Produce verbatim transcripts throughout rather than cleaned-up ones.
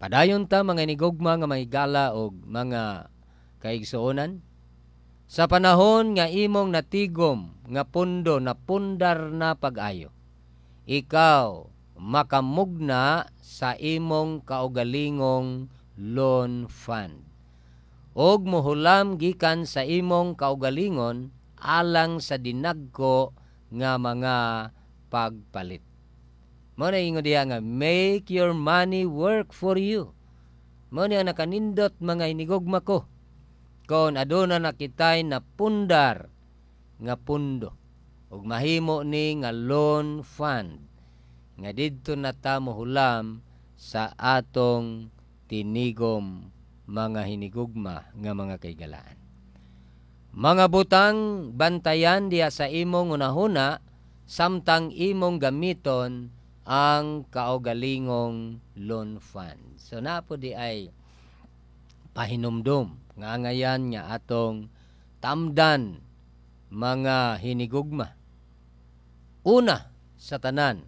Padayon ta, mga hinigugma nga mga higala og mga kaigsuonan. Sa panahon nga imong natigom nga pundo na pundar na pag-ayo, ikaw makamugna sa imong kaugalingong loan fund og mohulam gikan sa imong kaugalingon alang sa dinagko nga mga pagpalit. Mao na ingon diha nga "Make your money work for you." Mao ni ang nakanindot, mga hinigugma ko. Kon aduna na kitay napundar nga pundo ug mahimo ni nga loan fund nga didto na ta mohulam sa atong tinigom, mga hinigugma nga mga kahigalaan. Mga butang bantayan diha sa imong hunahuna samtang imong gamiton ang kaugalingong loan fund. So naa po diay pahinumdum nga angayan nga atong tamdan, mga hinigugma. Una sa tanan,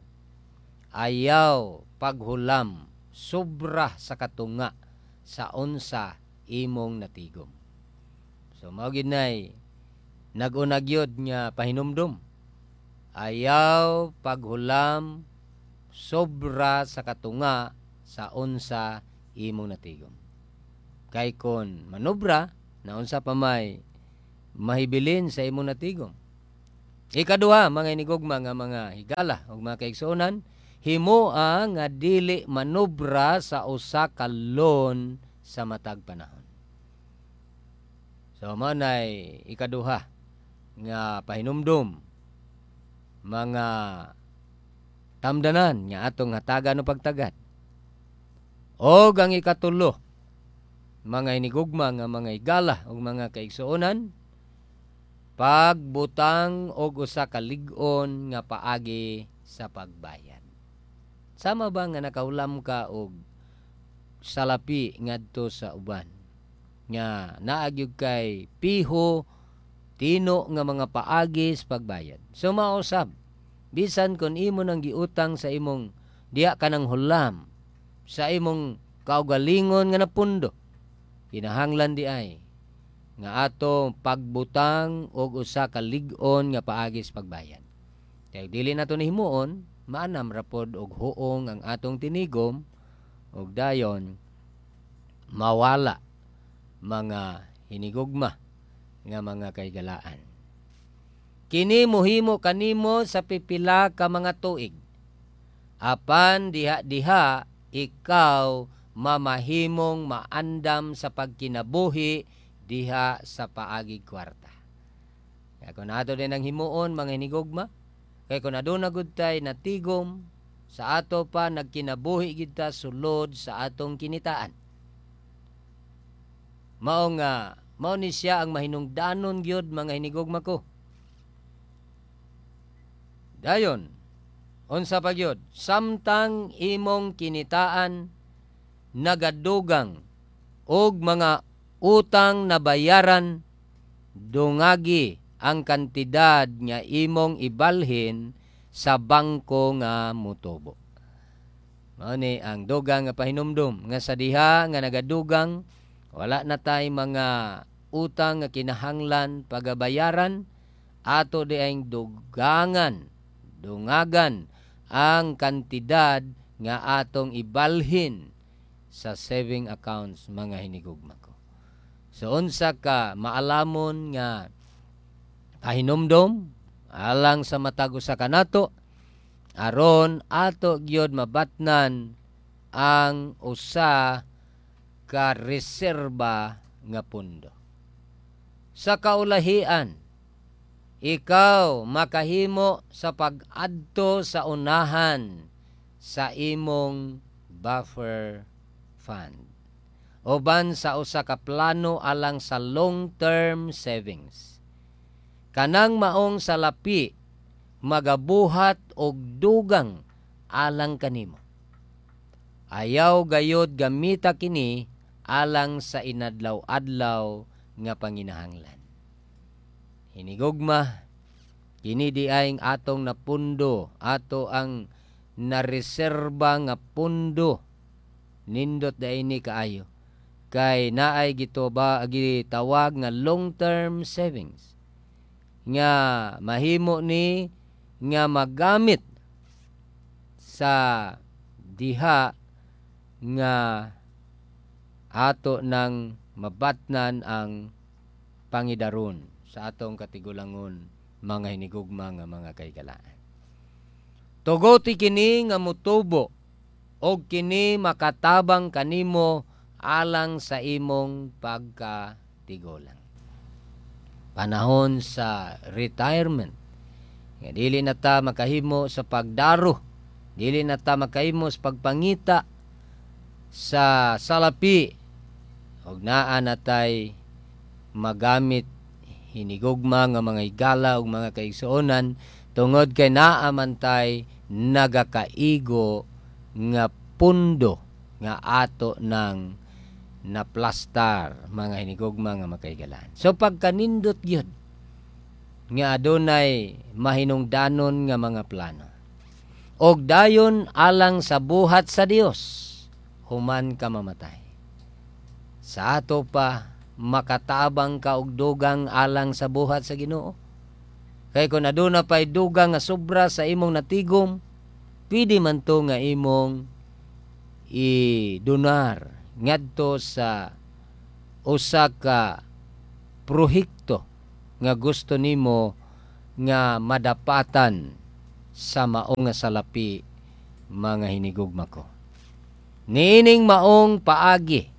ayaw paghulam sobra sa katunga sa unsa imong natigom. So mao gid nay nag-una gyud nga pahinumdum. Ayaw paghulam sobra sa katunga sa unsa imong natigom. Kay kon manobra na, unsa pa may mahibilin sa imong natigom? Ikaduha, mga hinigugma nga mga higala ug mga kaigsuonan, himoa nga dili manobra sa usa ka loan sa matag panahon. So mao nay ikaduha nga pahinumdum, mga tamdanan nga atong hatagan o pagtagad. Og ang ikatulo, mga hinigugma nga mga higala ug mga kaigsuonan, pagbutang og usa ka lig-on nga paagi sa pagbayad. Sama ba nga nakahulam ka og salapi ngadto sa uban nga naa gyud kay piho tino nga mga paagi sa pagbayad? So mao sab, bisan kon imo nang giutang sa imong diha ka nang hulam sa imong kaugalingon nga napundo, kinahanglan diay nga ato pagbutang og usa ka lig-on nga paagi sa pagbayad. Kay dili nato himuon, maanam ra pod og huong ang atong tinigom ug dayon mawala, mga hinigugma nga mga kahigalaan. Kini mohimo kanimo sa pipila ka mga tuig. Apan diha-diha ikaw mamahimong maandam sa pagkinabuhi diha sa paagi kwarta. Kaya kung ato din ang himuon, mga hinigugma, kay kung aduna gud tay natigom, sa ato pa nagkinabuhi gid ta sulod sa atong kinitaan. Mao nga mao ni siya ang mahinungdanon gyud, mga hinigugma ko. Dayon, unsa pa gyud, samtang imong kinitaan nagadugang og mga utang nabayaran, dungagi ang kantidad nga imong ibalhin sa bangko nga mutubo. Mao ni ang dugang nga pahinumdum nga sa diha nga nagadugang, wala na tay mga utang nga kinahanglan pagabayaran, ato diayng dugangan, dungagan ang kantidad nga atong ibalhin sa saving accounts, mga hinigugma ko. So unsa ka maalamon nga pahinumdom alang sa matag usa kanato aron ato gyud mabatnan ang usa ka reserba nga pundo. Sa kaulahian, ikaw makahimo sa pag-adto sa unahan sa imong buffer fund uban sa usa ka plano alang sa long-term savings. Kanang maong salapi magabuhat og dugang alang kanimo. Ayaw gayod gamita kini alang sa inadlaw-adlaw nga panginahanglan. Hinigugma, kini diay ang atong napundo, ato ang nareserba nga pundo. Nindot diay ni kaayo kay naay gituba gitawag nga long term savings nga mahimo ni nga magamit sa diha nga ato nang mabatnan ang pangidaron sa atong katigulangon, mga hinigugma nga mga kahigalaan. Tugoti kini nga mutubo og kini makatabang kanimo alang sa imong pagkatigulang. Panahon sa retirement nga dili na ta makahimo sa pagdaro, dili na ta makahimo sa pagpangita sa salapi og naa na tay magamit, hinigugma nga mga higala ug mga kaigsuonan, tungod kay naa man tay nagakaigo nga pundo nga ato nang naplastar, mga hinigugma nga makaigalan. So pagkanindot gyud nga adunay mahinungdanon nga mga plano. Og dayon alang sa buhat sa Dios human ka mamatay. Sa ato pa makatabang ka og dugang alang sa buhat sa Ginoo. Kay kung aduna pa'y dugang nga sobra sa imong natigom, pwede man to nga imong idonar ngadto sa usa ka proyekto nga gusto nimo nga madapatan sa maong nga salapi, mga hinigugma ko. Niining maong paagi,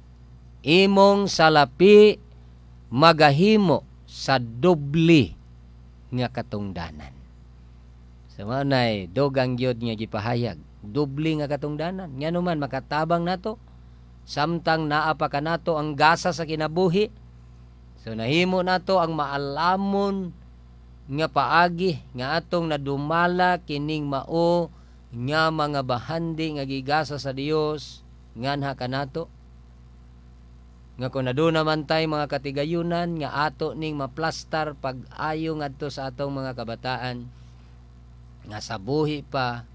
imong salapi magahimo sa doble nga katungdanan. Sa mao nay dugang gyud nga gipahayag, doble nga katungdanan. Ngano man makatabang nato samtang naa pa kanato ang gasa sa kinabuhi. So nahimo nato ang maalamon nga paagi nga atong nadumala kining mao nga mga bahandi nga gigasa sa Dios nganha kanato. Nga kung aduna man tay mga katigayunan nga ato ning maplastar pag-ayo ngadto sa atong mga kabataan nga sa buhi pa,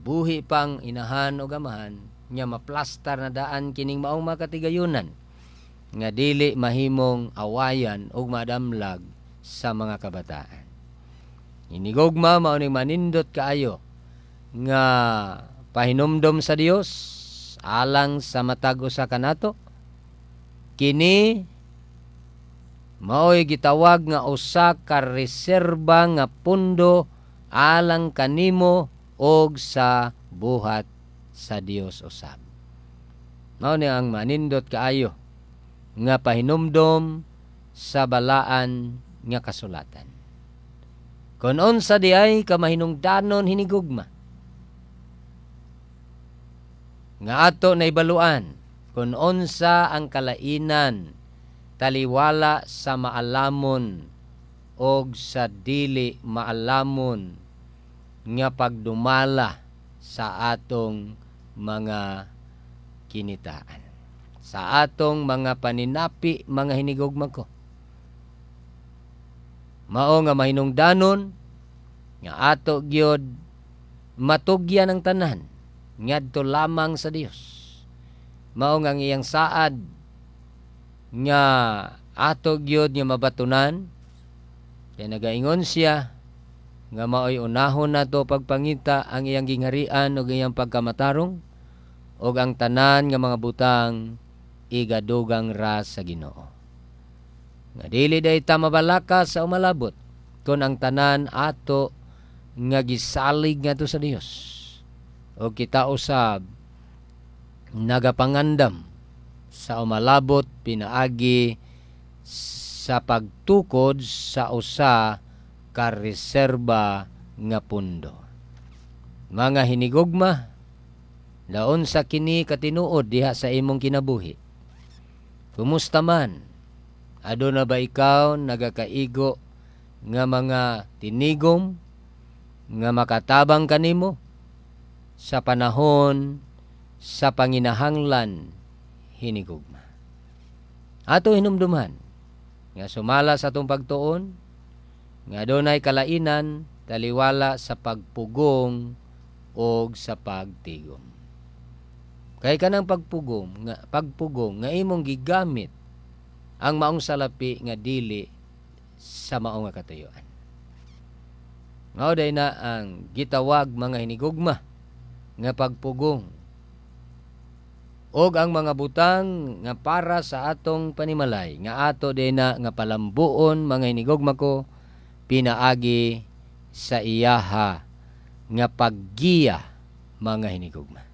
buhi pang inahan o gamahan, nga maplastar na daan kining maong mga katigayunan nga dili mahimong awayan ug madamlag sa mga kabataan. Hinigugma, mao ning manindot kaayo nga pahinumdom sa Dios alang sa matag usa kanato. Kini mao'y gitawag nga usa ka reserba nga pundo alang kanimo og sa buhat sa Dios usab. Mao ni ang manindot kaayo nga pahinumdom sa balaan nga kasulatan. Kon unsa di ay ka mahinungdanon, hinigugma, nga ato naibaluan kung unsa ang kalainan taliwala sa maalamon og sa dili maalamon nga pagdumala sa atong mga kinitaan, sa atong mga paninapi, mga hinigugma ko. Mao nga mahinungdanon nga ato gyud matugyan ang tanan ngadto lamang sa Dios. Mao nga ang iyang saad nga ato gyud nga mabatunan kay nagaingon siya nga maoy unahon nato pagpangita ang iyang gingharian ug iyang pagkamatarong, ug ang tanan nga mga butang igadugang ra sa Ginoo. Nga dili day ta mabalaka sa umalabot kon ang tanan ato nga gisalig ngadto sa Dios o kita usab nagapangandam sa umalabot pinaagi sa pagtukod sa usa ka reserba nga pundo. Mga hinigugma, laon sa kini katinuod diha sa imong kinabuhi. Kumusta man? Aduna ba ikaw nagakaigo nga mga tinigom nga makatabang kanimo sa panahon sa panginahanglan, hinigugma? Ato hinumduman nga sumala sa atong pagtuon nga adunay kalainan taliwala sa pagpugong og sa pagtigom. Kay kanang pagpugong nga pagpugong nga imong gigamit ang maong salapi nga dili sa mao nga katuyuan. Mao day na ang gitawag, mga hinigugma, nga pagpugong og ang mga butang nga para sa atong panimalay nga ato day na nga palambuon, mga hinigugma ko, pinaagi sa iyaha nga paggiya, mga hinigugma.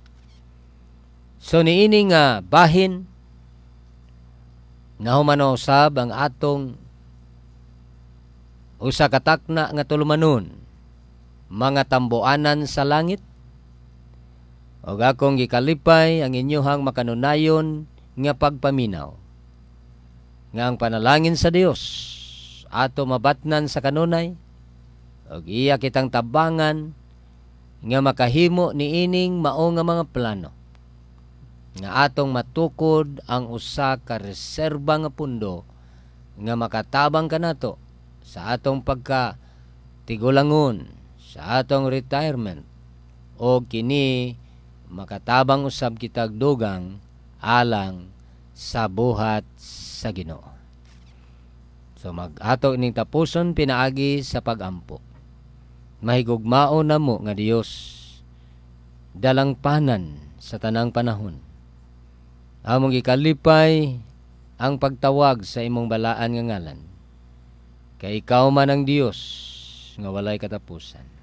So niini nga bahin, nahuman usab ang atong usa ka takna nga tulumanon, Mga Tambuanan sa Langit, ug akong gikalipay ang inyohang makanunayon nga pagpaminaw nga ang panalangin sa Dios ato mabatnan sa kanunay ug iya kitang tabangan nga makahimo niining mao nga mga plano nga atong matukod ang usa ka reserba nga pundo nga makatabang kanato sa atong pagka tigulangon, sa atong retirement, o kini makatabang usab kitag dugang alang sa buhat sa Ginoo. So mag-ato ining tapuson pinaagi sa pagampo. Mahigugmao namo nga Dios, dalangpanan sa tanang panahon. Among gikalipay ang pagtawag sa imong balaan nga ngalan. Kay ikaw man ang Dios nga walay katapusan.